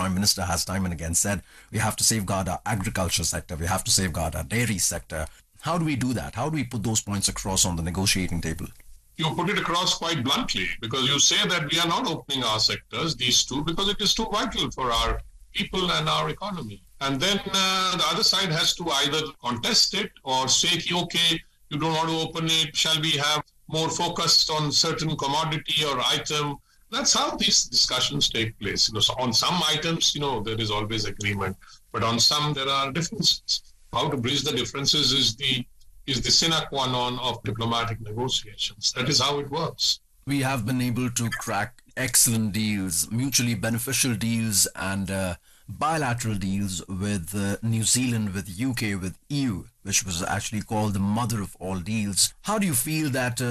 Prime Minister has time and again said we have to safeguard our agriculture sector, we have to safeguard our dairy sector. How do we do that? How do we put those points across on the negotiating table? You put it across quite bluntly because you say that we are not opening our sectors, these two, because it is too vital for our people and our economy. And then the other side has to either contest it or say, okay, you don't want to open it. Shall we have more focused on certain commodity or item? That's how these discussions take place. You know, so on some items, you know, there is always agreement, but on some there are differences. How to bridge the differences is the is the sine qua non of diplomatic negotiations. That is how it works. We have been able to crack excellent deals, mutually beneficial deals, and bilateral deals with New Zealand, with UK, with EU, which was actually called the mother of all deals. How do you feel that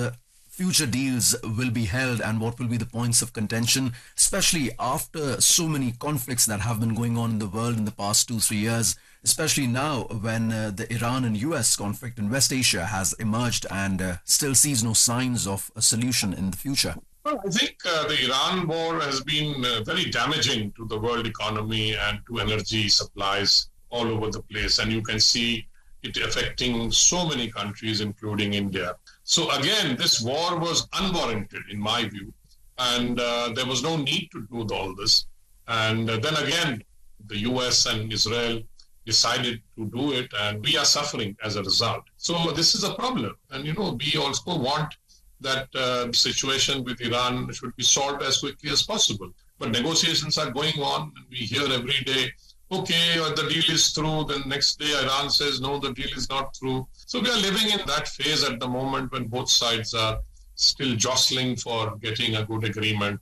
future deals will be held and what will be the points of contention, especially after so many conflicts that have been going on in the world in the past 2-3 years, especially now when the Iran and US conflict in West Asia has emerged and still sees no signs of a solution in the future? Well, I think the Iran war has been very damaging to the world economy and to energy supplies all over the place. And you can see it affecting so many countries, including India. So again, this war was unwarranted in my view, and there was no need to do all this. And then again, the US and Israel decided to do it, and we are suffering as a result. So this is a problem. And, you know, we also want that situation with Iran should be solved as quickly as possible. But negotiations are going on, and we hear every day, okay, the deal is through. The next day, Iran says, no, the deal is not through. So we are living in that phase at the moment when both sides are still jostling for getting a good agreement.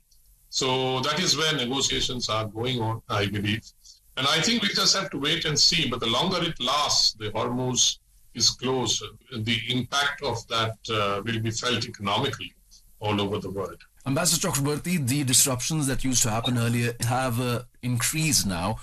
So that is where negotiations are going on, I believe. And I think we just have to wait and see. But the longer it lasts, the Hormuz is closed, the impact of that will be felt economically all over the world. Ambassador Chakraborty, the disruptions that used to happen earlier have increased now.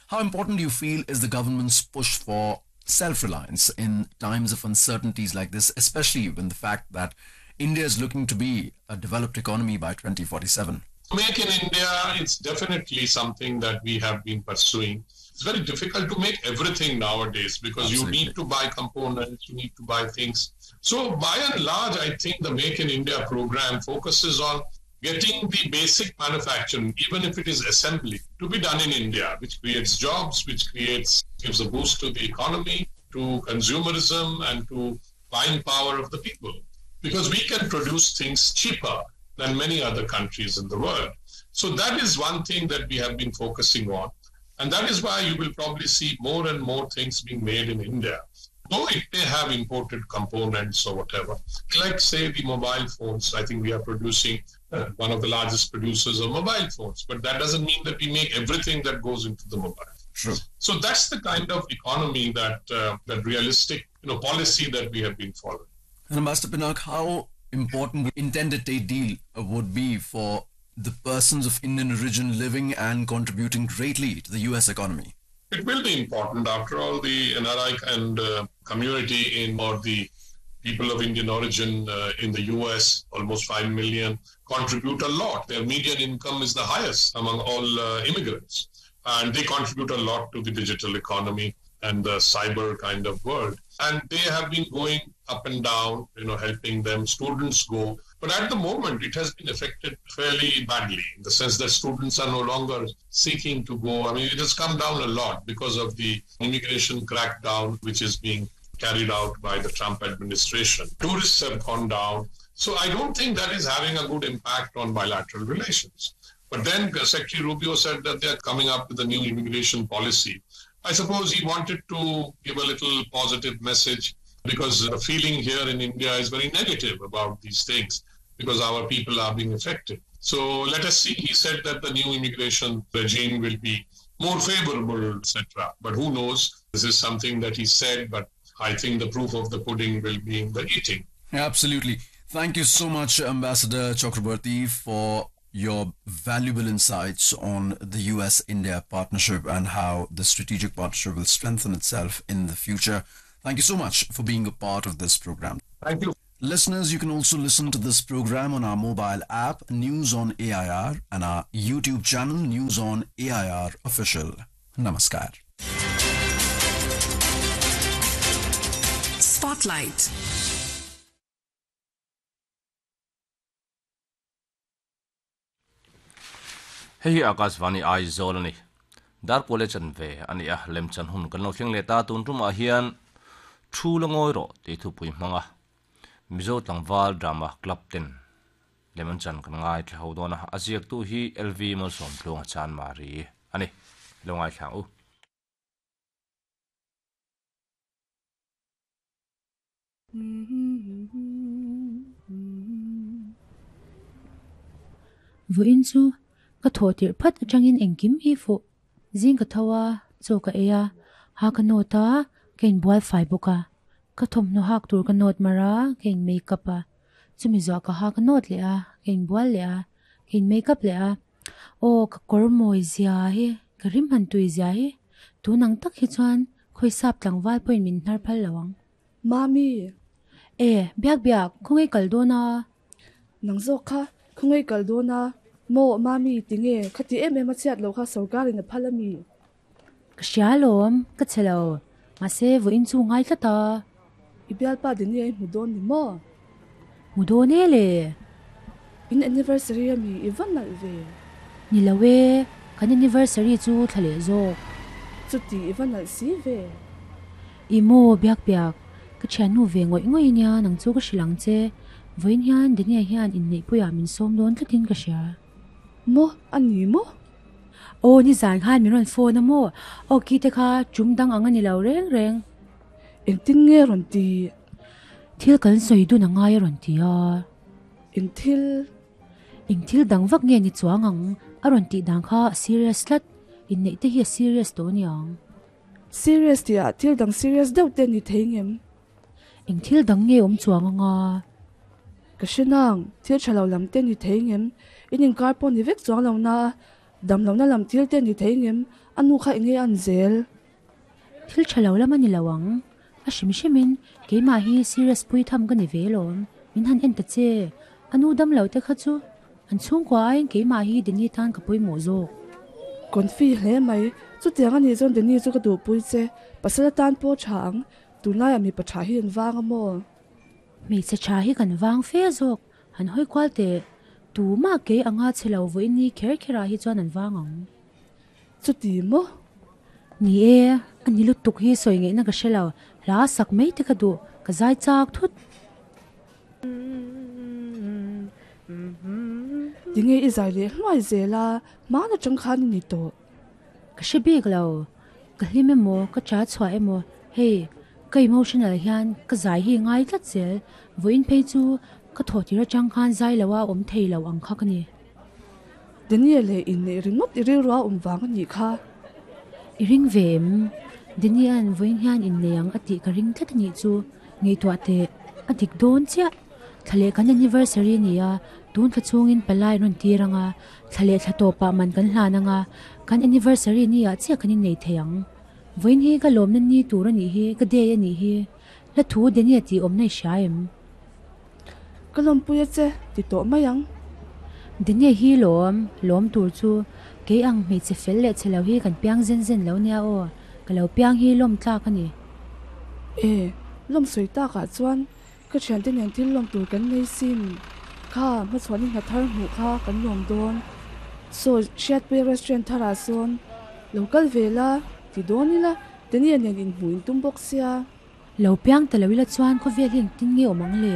How important do you feel is the government's push for self-reliance in times of uncertainties like this, especially when the fact that India is looking to be a developed economy by 2047? Make in India, it's definitely something that we have been pursuing. It's very difficult to make everything nowadays because you need to buy components, you need to buy things. So by and large, I think the Make in India program focuses on getting the basic manufacturing, even if it is assembly, to be done in India, which creates jobs, which gives a boost to the economy, to consumerism, and to buying power of the people. Because we can produce things cheaper than many other countries in the world. So that is one thing that we have been focusing on. And that is why you will probably see more and more things being made in India, though it may have imported components. Like, say, the mobile phones. I think we are producing one of the largest producers of mobile phones. But that doesn't mean that we make everything that goes into the mobile. So that's the kind of economy that realistic, policy that we have been following. And Ambassador Pinak, how important the intended trade deal would be for the persons of Indian origin living and contributing greatly to the US economy? It will be important. After all, the NRI and community in, or the people of Indian origin in the US, almost 5 million, contribute a lot. Their median income is the highest among all immigrants. And they contribute a lot to the digital economy and the cyber kind of world. And they have been going up and down, helping them. Students go. But at the moment, it has been affected fairly badly, in the sense that students are no longer seeking to go. It has come down a lot because of the immigration crackdown, which is being carried out by the Trump administration. Tourists have gone down. So I don't think that is having a good impact on bilateral relations. But then Secretary Rubio said that they are coming up with a new immigration policy. I suppose he wanted to give a little positive message, because the feeling here in India is very negative about these things, because our people are being affected. So let us see. He said that the new immigration regime will be more favorable, etc. But who knows? This is something that he said, but I think the proof of the pudding will be in the eating. Absolutely. Thank you so much, Ambassador Chakraborty, for your valuable insights on the US-India partnership and how the strategic partnership will strengthen itself in the future. Thank you so much for being a part of this program. Thank you. Listeners, you can also listen to this program on our mobile app, News on AIR, and our YouTube channel, News on AIR Official. Namaskar. Spotlight. Hei hi Akashvani Aizawl a ni. Darkuale chanve a ni a, lemchan hun kan lo thleng leh ta. Tun tumah hian Thu la ngawi rawh tih thupui hmang a, Mizo tlangval drama club ten lem an chan kan ngaithla ho dawn a, a ziaktu hi LV Malsawmtluanga Chanmari a ni. Lo ngaithla ang u. Vawiin chu ka thawh tirh phat atangin engkim hi fuh. Zing ka tho a, chaw ka ei a, ha ka nawt a, ka inbual fai bawk a. Ka thawmhnaw hak tur ka nawt mar a, ka in make up a. Chumi zuah ka ha ka nawt leh a, ka inbual leh a, ka in make up leh a. Aw ka kawr mawi zia hi, ka rim han tui zia hi, tun ang tak hi chuan khawisap tlangval pawhin min hnar phal lo ang. Mami! E, biak biak, khawngaih kal dawn a? Nang zawk kha, khawngaih kal dawn a? Maw, Mami, tinge, khati em em a chhiat lo kha sorkarin a phal a mi? Ka hria alawm, ka chhe lo. Mahse, vawiin chu ngai tlat a. I bialpa Dini a i hmu dawn ni maw? Hmu dawn e le. In anniversary a mi i va nalh ve? Ni lo e, kan anniversary chu thla leh zawk. Chuti i va nalh si ve. I maw biak biak, ka thiannu ve ngawih ngawih nia nang chu ka hrilh ang che. Vawiin hian Daniel hian inneihpuiah min sawm dawn tlatin ka hria. Maw a ni maw? Aw nizan khan min rawn phone a maw? Aw ki te kha tum dang ang a ni lo reng reng. Engtin nge rawn ti? Thil kan sawi dun a ngai a rawn ti a. Eng thil? Eng thil dang vak nge ni chuang ang a rawn tih dan kha a serious tlat. Inneih te hi a serious tawh aniang. Serious tih ah thil dang serious deuh te ni thei ngem? Eng thil dang nge awm chuang anga? Ka hre nang, thil tha lo lam te ni thei ngem? In inkar pawh ni vek chuang lo na a, dam lohna lam thil te ni thei ngem? A nu kha enge an zel? Thil tha lo lam a ni lo ang. A hrim hrimin keimah hi serious pui tham ka ni ve lawm. Min han en ta che. A nu dam lo te kha chu an chhungkua aiin keimah hi Denny tan ka pawimawh zawk. Confi hle mai. Chutiang a nih chuan Denny chu ka duhpui che. Pasal atan pawh tha ang. Tunlaiah mipa tha hi an vang a maw? Hmeichhe tha hi kan vang fe zawk. Han hawi kual teh. Tumah kei anga chhe lo vawiin ni kher kherah hi chuan an vang ang. Chuti maw? Ni e, a ni lutuk hi sawi ngaihna ka hre lo. Hla sak mai te ka duh, ka zai chak thut. Tinge i zai leh hluai zel a, hmaan atang khan i ni tawh. Ka hre bik lo, ka hlim emaw, ka cha chhuah emaw, hei, ka emotional hian ka zai hi ngai tlat zel. Vawiin phei chu ka thawh tir atang khan zai lo a awm thei lo ang kha ka ni. Daniel leh inneih ringawt i rilru a awm vang a nih kha. I ring ve em? Daniel-a'n vawiin hian innei ang a tih ka ring tlat a nih chu. Ngaihtuah teh, a dik dawn chiah. Thla leh kan anniversary a ni a, tun thla chhungin palai rawn tir ang a, thla leh thla tawpah man kan hlan ang a, kan anniversary ni ah chiah kan innei thei ang. Vawiin hi ka lawmna ni tur a nih hi, ka day a nih hi. Hla thu Daniel tih awmna i hria em? Ka lawmpui a che, ti tawh mai ang. Daniel hi lawm, lawm tur chu kei ang hmeichhe fel leh chhe lo hi kan piang zen zen lo nia aw, ka lo piang hi lawm tlak a ni. E, lawm sawi takah chuan ka thiante nen thil lawm tur kan nei sin. Kha, hmachhuahni hna thar hmuh kha kan lawm dawn. Saw, Hriatpuia restaurant tharah sawn lo kal ve la, ti dawn ila, Daniel nen inhmuh in tum bawk sia. Lo piang ta lo ila chuan khawvel hi engtin nge awm ang le?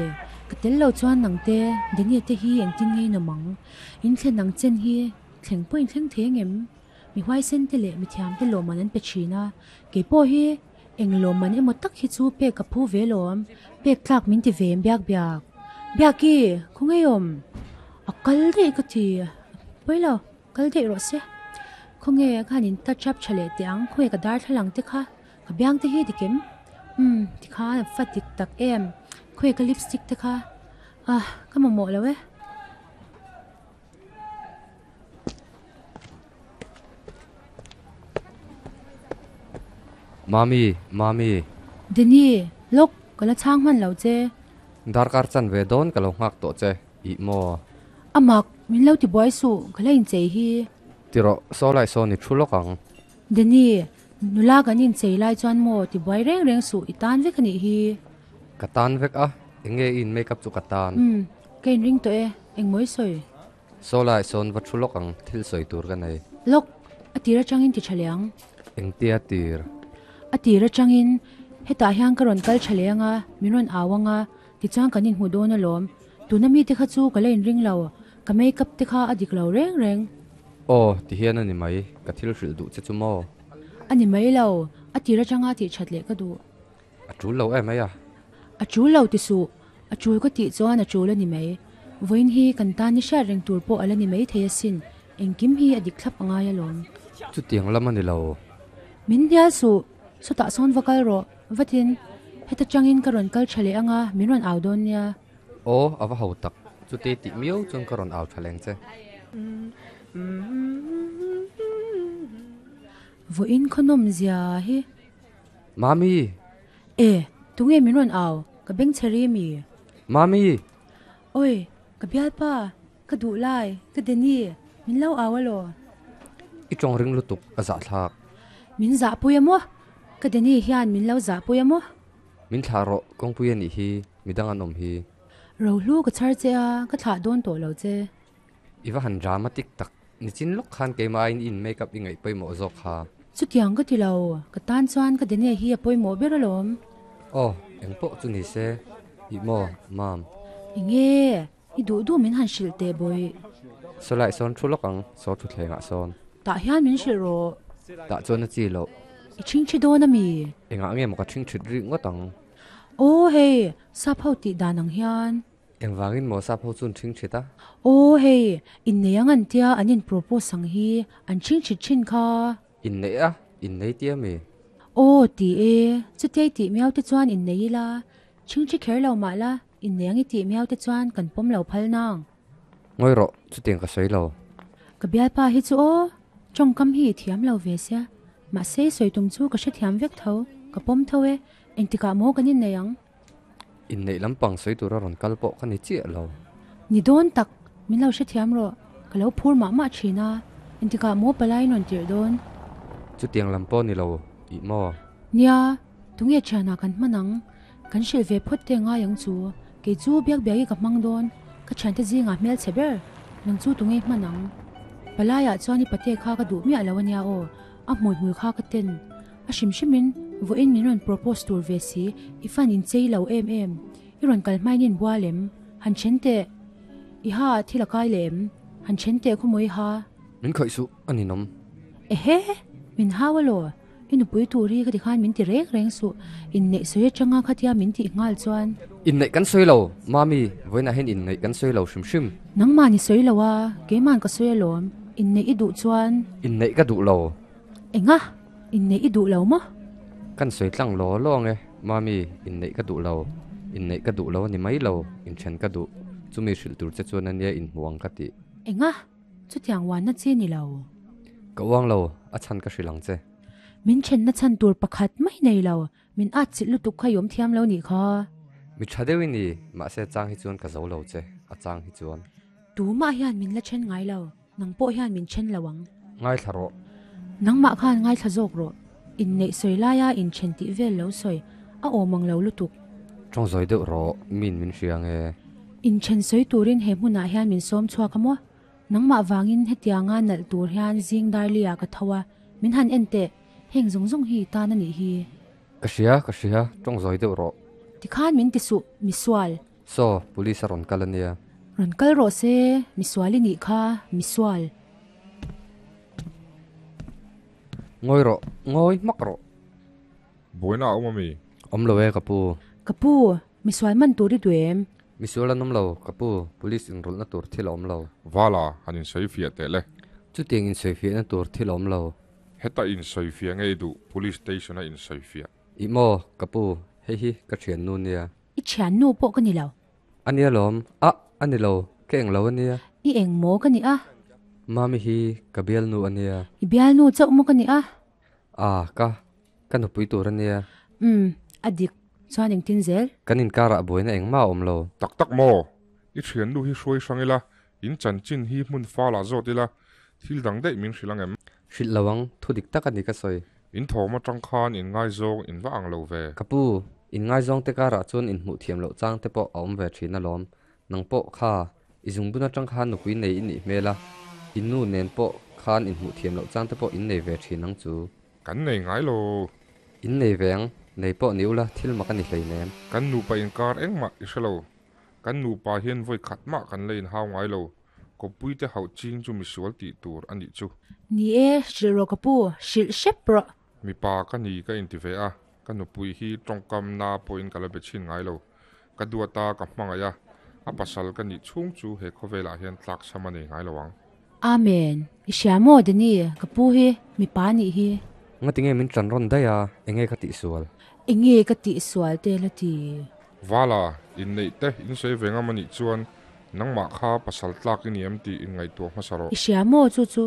Ka tel lo chuan nang te, Daniel te hi engtin nge in awm ang? In thlen ang chen hi thleng pawh in thleng thei angem? Mi huaisen te leh mi thiam te lawmman an pe thin a, kei pawh hi eng lawmman emaw tak hi chu pek ka phu ve lawm, pek tlak min ti ve em biak biak. Biaki, khawngaih awm? A kal daih ka ti, pawi lo, kal daih rawh se. Khawnge ka han in touch up tha leh teh ang, khawnge ka darthlalang te kha. Ka biang te hi dik em? Umm, tikhan a fa dik tak em? Khawi ka lipstick te kha? Ah, ka mamawh lo e. Mami, Mami. Denny, lawk, ka la chhang hman lo che. Darkar chanve dawn ka lo nghak tawh che, ih maw? A mak, min lo ti buai suh, ka la inchei hi. Ti rawh, saw lai sawn i thu lawk ang. Danny, nula kan inchei lai chuan maw ti buai reng reng suh, i tan vek a nih hi. Ka tan vek a, eng nge i in make up chu ka tan? Umm, ka inring tawh e, eng mawi sawi? Saw lai sawn va thu lawk ang, thil sawi tur ka nei. Lawk, a tir atangin ti tha leh ang. Engtia tir? A tir atangin, hetah hian ka rawn kal tha leh ang a, min rawn au ang a, tichuan kan inhmu dawn alawm. Tuna mite kha chu ka la inring lo, ka make up te kha a dik lo reng reng. Aw, ti hian a ni mai, ka thil hrilh duh che chu maw? A ni mai lo, a tir atanga tih that leh ka duh. A tul lo em mai a. A tul lo ti suh, a tul ka tih chuan a tul a ni mai. Vawiin hi kan tan ni hriat reng tur pawh a la ni mai thei asin, engkim hi a dik thlap a ngai alawm. Chutiang lam a ni lo. Min hnial suh, sawtah sawn va kal rawh, vatin heta tangin ka rawn kal tha leh anga min rawn au dawn nia. Aw, a va ho tak, chuti tih miau chuan ka rawn au tha leng che. Vawiin khawnawm zia hi. Mami! E, tunge min rawn au? Ka beng chhe ri mi? Mami! Oi, ka bialpa, ka duh lai, ka Danny, min lo au alaw? I tawng ring lutuk a zahthlak. Min zahpui a maw? Ka Danny hian min lo zahpui a maw? Min thlah rawh, kawngpui a nih hi, midang an awm hi. Rohlu ka chhar che a, ka thlah dawn tawh lo che. I va han dramatic tak, nichin lawk khan keimah aiin i in make up i ngaih pawimawh zawk kha. Chutiang ka ti lo, ka tan chuan ka Daniel hi a pawimawh ber alawm. Aw, eng pawh chu ni se, ih maw, Mam. Enge, i duh duh min han hrilh teh bawih. Saw lai sawn thu lawk ang, saw thutthlengah sawn. Tah hian min hrilh rawh. Tah chuan a chi loh. I ṭhingṭhi dawn a mi? Engah nge maw ka ṭhingṭhit rih ngawt ang? Aw hei, sap ho tih dan ang hian. Engvangin maw sap ho chuan ṭhing ṭhit a? Aw hei, innei ang an tia an in propose ang hi, an ṭhing ṭhit ṭhin kha. Inneih a? Innei tia mi? Aw ti e, chutiai tih miau te chuan innei ila, ṭhing ṭhi kher lo mah la, innei ang i tih miau te chuan kan pawm lo phal nang. Ngawi rawh, chutiang ka sawi lo. Ka bialpa hi chu aw, ṭawngkam hi i thiam lo ve sia, mahse i sawi tum chu ka hrethiam vek tho, ka pawm tho e, engtikah maw kan innei ang? Inneih lampang sawi tura rawn kal pawh ka ni chiah lo. Ni dawn tak, min lo hrethiam rawh, ka lo phur mah mah thin a, engtikah maw palai in rawn tirh dawn? Chutiang lam pawh ni lo, ih maw? Nia, tunge thianah kan hman ang? Kan hrilh ve phawt te ngai ang chu, kei chu biak biak i ka hmang dawn, ka thiante zingah hmelchhe ber, nang chu tunge hman ang? Palaiah chuan i pate kha ka duh miah lo ania aw, a hmui hmui kha ka ten. A hrim hrimin vawiin min rawn propose tur ve si, i fan in chei lo em em, i rawn kal hmain in bual em? Han then teh, i ha ah thil a kai leh em? Han then teh khawmawi ha. Min khawih suh, a ninawm. Ehe! Min hau alaw, i nupui tur hi khati khan min ti reng reng suh, inneih sawi atanga khatia min tih nghal chuan. Inneih kan sawi lo, Mami, vawiinah hian inneih kan sawi lo hrim hrim. Nangmah ni sawi lo a, keima'n ka sawi alawm, inneih i duh chuan. Inneih ka duh lo. Enga? Inneih i duh lo maw? Kan sawi tlang law law ang e, Mami, inneih ka duh lo. Inneih ka duh lo a ni mai lo, inthen ka duh. Chumi hrilh tur che chuan ania inhmu ang ka tih. Enga? Chutiang uanna chi ni lo. Ka uang lo, a chhan ka hrilh ang che. Min thenna chhan tur pakhat mai nei lo, min at chilh lutuk kha i awm thiam lo nih kha. Mi tha deuh i ni, mahse a chang hi chuan ka zo lo che, a chang hi chuan. Tumah hian min la then ngai lo. Nang pawh hian min then lo ang. Ngaithla rawh. Nangmah khan ngaithla zawk rawh. Inneih sawi laia inthen tih vel lo sawi a awm ang lo lutuk. Tawng zawi deuh rawh, min min hria ang e. Inthen sawi turin he hmunah hian min sawm chhuak a maw? Nangmah vangin hetianga nalh tur hian zing darli-ah ka tho a, min han en teh, heng zawng zawng hi i tan a nih hi. Ka hria, ka hria, tawng zawi deuh rawh. Tikhan min ti suh, misual. Saw, police a rawn kal a nia. Rawn kal rawh se, misual i nih kha, misual. Ngawi rawh, ngawi hmak rawh. Buaina a awm a mi? Awm lo e, ka pu. Ka pu, misual man tur i duh em? Misual an awm lo, ka pu, police inrawlhna tur thil a awm lo. Vala, han insawifiah teh le. Chutiang insawifiahna tur thil a awm lo. Heta insawifiah nge i duh, police station a insawifiah? Ih maw, ka pu, hei hi ka thiannu nia. I thiannu pawh ka ni lo. A nia lawm. A, a ni lo. Ka eng lo a nia. I eng maw ka nih a? Mami hi ka bialnu a nia. I bialnu chauh maw ka nih a? A, ka, ka nupui tur a nia. Umm, a dik. Chuan engtin zel? Kan inkarah buaina engmah a awm lo. Tak tak maw? I thiannu hi hruai hrang ila, in chanchin hi hmun falah zawt ila, thil dang daih min hrilh ang em? Hrilh lo ang, thu dik tak a ni ka sawi. In thawm atang khan in ngaizawng in va ang lo ve. Ka pu, in ngaizawng te karah chuan in hmuh thiam loh chang te pawh a awm ve thin alawm. Nang pawh kha, i zungbun atang khan nupui nei i nih hmel a, i nu nen pawh khan in hmuh thiam loh chang te pawh in nei ve thin ang chu. Kan nei ngai lo. In nei ve ang, nei pawh ni ula thil mak a ni hleinem. Kan nupa inkar engmah i hre lo. Kan nupa hian vawi khat mah kan la inhau ngai lo. Kawppui te hauh ching chu misual tih tur a nih chu. Ni e, hrilh rawh ka pu, hrilh hrep rawh. Mipa ka ni ka inti ve a, ka nupui hi tawngkam na pawhin ka la be chhin ngai lo. Ka duat a, ka hmangaih a, a pasal ka nih chhung chu he khawvelah hian tlak chham a nei ngai lo ang. Amen. I hria maw Danny, ka pu hi mipa nih hi. Ngatinge min tan rawn daih a, enge ka tihsual? Enge ka tihsual te la ti? Vala, inneih te in sawi ve ngam a nih chuan nangmah kha pasal tlak i ni em tih inngaihtuah hmasa rawh. I hria maw chu chu?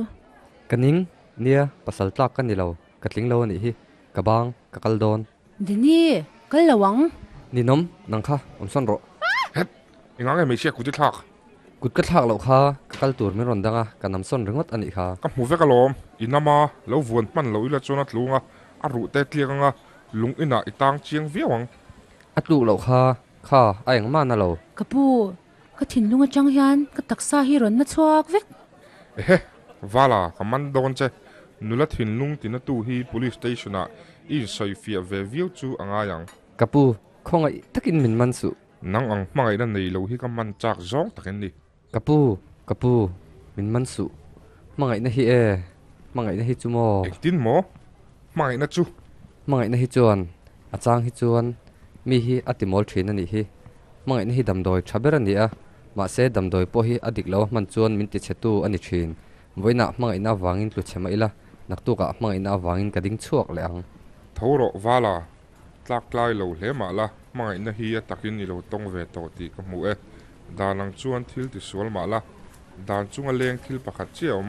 Ka ning, nia, pasal tlak ka ni lo, ka tling lo a nih hi, ka bang, ka kal dawn. Dini, kal lo ang. Ninawm, nang kha, awm sawn rawh. Het, engang nge hmeichhia kut i thlak? Kut ka thlak loh kha, ka kal tur min rawn dang a, ka nam sawn ringawt a nih kha. Ka hmu vek alawm, i nama lo vuan hman lo ila chuan a tlung a, a ruh te tliak anga lung inah i tang chiang viau ang. A tluk loh kha, kha a engmah na lo. Ka pu, ka thinlung atang hian ka taksa hi rawn na chhuak vek. Ehe, Vala, ka man dawn che. Nula thinlung tina tu hi Police Station ah i insawifiah ve viau chu a ngai ang. Ka pu, khawngaih takin min man suh. Nang ang hmangaihna nei lo hi ka man chak zawng takin ni. Ka pu, ka pu, min man suh. Hmangaihna hi e, hmangaihna hi chu maw? Engtin maw? Hmangaihna chu? Hmangaihna hi chuan, a chang hi chuan mi hi a ti mawl thin a nih hi. Hmangaihna hi damdawi tha ber a ni a, mahse damdawi pawh hi a dik lo a hman chuan min ti chhe tu a ni thin. Vawiinah hmangaihna avangin tlu chhe mah ila, naktukah hmangaihna avangin ka ding chhuak leh ang. Tho rawh Vala, Tlak tlai lo hle mah la, hmangaihna hi a takin i lo tawng ve tawh tih ka hmu e. Dan ang chuan thil ti sual mah la, dan chunga leng thil pakhat chiah a awm,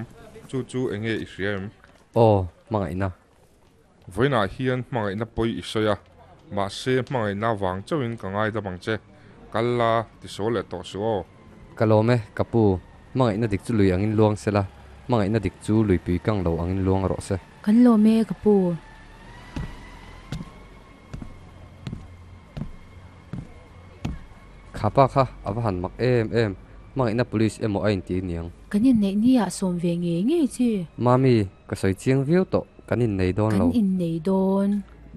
chu chu eng nge i hria em? Aw, hmangaihna. Vawiinah hian hmangaihna pawi i sawi a, mahse hmangaihna vang chauhin ka ngaidam ang che. Kal la, ti sual leh tawh suh aw. Ka lawm e, ka pu. Hmangaihna dik chu lui angin luang se la, hmangaihna dik chu luipui kang lo angin luang rawh se. Kan lawm e, ka pu. Kha pa kha a va han mak em em, hmangaihna police emaw a inti niang. Kan inneih ni ah sawm ve ngei ngei chi. Mami, ka sawi chiang viau tawh, kan innei dawn lo. Kan innei dawn.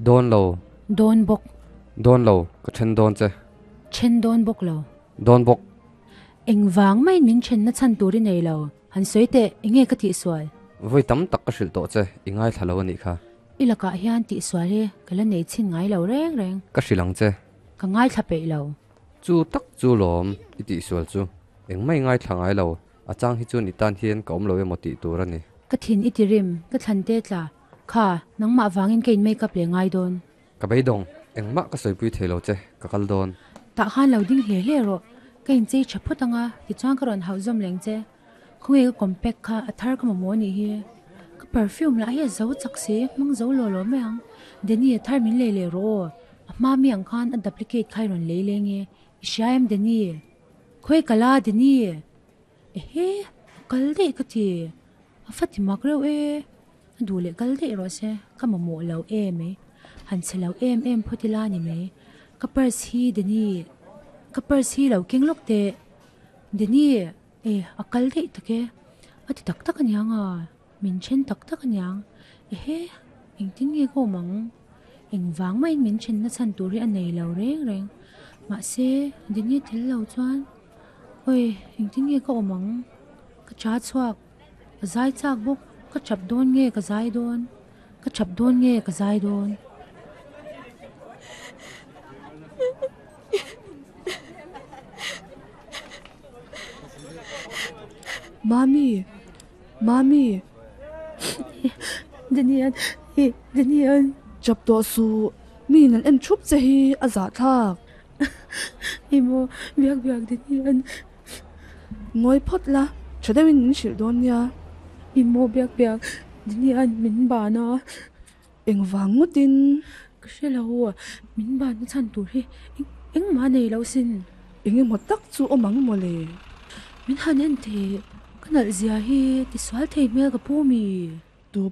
Dawn lo. Dawn bawk. Dawn lo, ka then dawn che. Then dawn bawk lo. Dawn bawk. Engvang maiin min thenna chhan tur i nei lo, han sawi teh, enge ka tihsual? Vawi tam tak ka hrilh tawh che, i ngaithla lo a nih kha. I lakah hian tihsual hi ka la nei chhin ngai lo reng reng. Ka hrilh ang che. Ka ngaithla peih lo. Chu tak chu lawm, i tihsual chu. Engmah i ngaithla ngai lo, a chang hi chuan i tan hian ka awm lo emaw tih tur a ni. Ka thin i ti rim, ka thlan te tla. Kha, nangmah vangin ka in make up leh ngai dawn. Ka beidawng, engmah ka sawipui thei lo che, ka kal dawn. Tah khan lo ding hle hle rawh, ka inchei tha phawt anga, tichuan ka rawn hauh zawm leng che. Khawnge ka compact kha a thar ka mamawh anih hi. Ka perfume lah hi a zo chak si, hmang zo law law mai ang. Danny a thar min lei leh rawh aw, a hma mi ang khan a duplicate kha i rawn lei leng e, i hria em Danny? Khawi ka la Danny? Ehe, a kal daih ka ti, a fa ti mak reuh e. A duh leh kal daih rawh se, ka mamawh lo em e. Han chhe lo em em phawt ila ni mai. Ka purse hi Danny, ka purse hi lo keng lawk teh. Danny, e, a kal daih tak e. A ti tak tak aniang a, min then tak tak aniang. Ehe, engtin nge ka awm ang? Engvang maiin min thenna chhan tur hi a nei lo reng reng. Mahse, Danny a tel lo chuan, awi, engtin nge ka awm ang? Ka cha chhuak. Ka zai chak bawk, ka chap dawn nge ka zai dawn, ka chap dawn nge ka zai dawn. Mami, Mami. Daniel, Daniel. Chap tawh suh, mi in an en thup che hi a zahthlak. Emaw, biak biak Daniel. Ngawi phawt la, tha deuhin min hrilh dawn nia. I maw biak biak, Dinian min ban a. Engvang ngawtin? Ka hre lo, min ban na chhan tur hi engmah a nei lo sin. Engemaw tak chu awm ang maw le? Min han en teh, ka nalh zia hi tisual thei hmel ka pu mi? Tu pawh.